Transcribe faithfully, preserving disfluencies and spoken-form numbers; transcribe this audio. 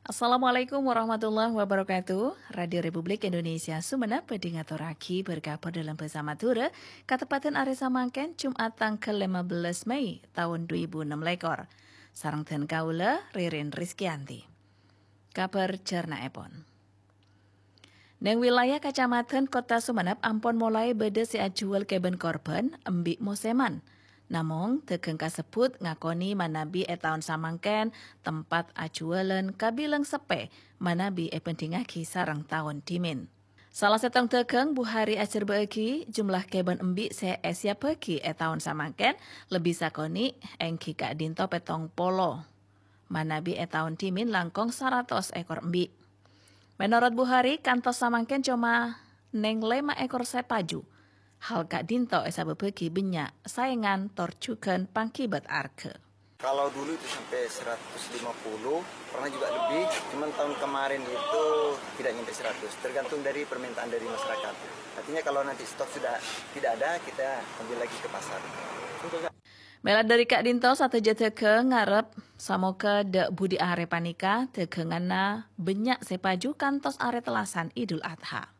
Assalamualaikum warahmatullahi wabarakatuh. Radio Republik Indonesia Sumenep bhâdhi ngatorraghi bâr-kabhâr dâlem bhâsa Madhurâ, kateppadhân arè samangkèn, Jum'at tangghâl lèma bellâs Mei taon dhu èbu ennem lèkor. Sareng dhân kaulâ, Ririn Rizkyanti. Kabhâr jhârna'èpon. Neng wilayah Kacamadhân Kottha Sumenep ampon molaè bâdâ sè ajhuwâl kèbân korbhân embi' mosèman. Namong, dhâghâng kasebbhut ngakonè manabi è taon samangkèn tempat ajhuwâlân kabilang seppè manabi èbhândhingngaghi sareng taon dhimèn. Sala sèttong dhâghâng Buhari ajhârbâ'âghi jumlah kèbân embi' sè èsiyabbhâghi è taon samangkèn lebbi sakonè', èngghi ka'dinto pèttong polo. Manabi è taon dhimèn langkong saratos èkor embi'. Menorot Buhari, kantos samangkèn coma neng lèma èkor sèpaju. Hal ka'dinto èsabâbbhâghi bânnya' saèngan tor jhughân pangghibât arghâ. Kalau dulu itu sampai seratus lima puluh, pernah juga lebih, cuman tahun kemarin itu tidak nyampe seratus, tergantung dari permintaan dari masyarakat. Artinya kalau nanti stok sudah tidak ada, kita ambil lagi ke pasar. Mèla dâri ka'dinto sadhâjâ dhâghâng ngarep, samoghâ dâ' budi arè panèka dhâghânganna bânnya' sè paju kantos arè tellasan Idul Adha.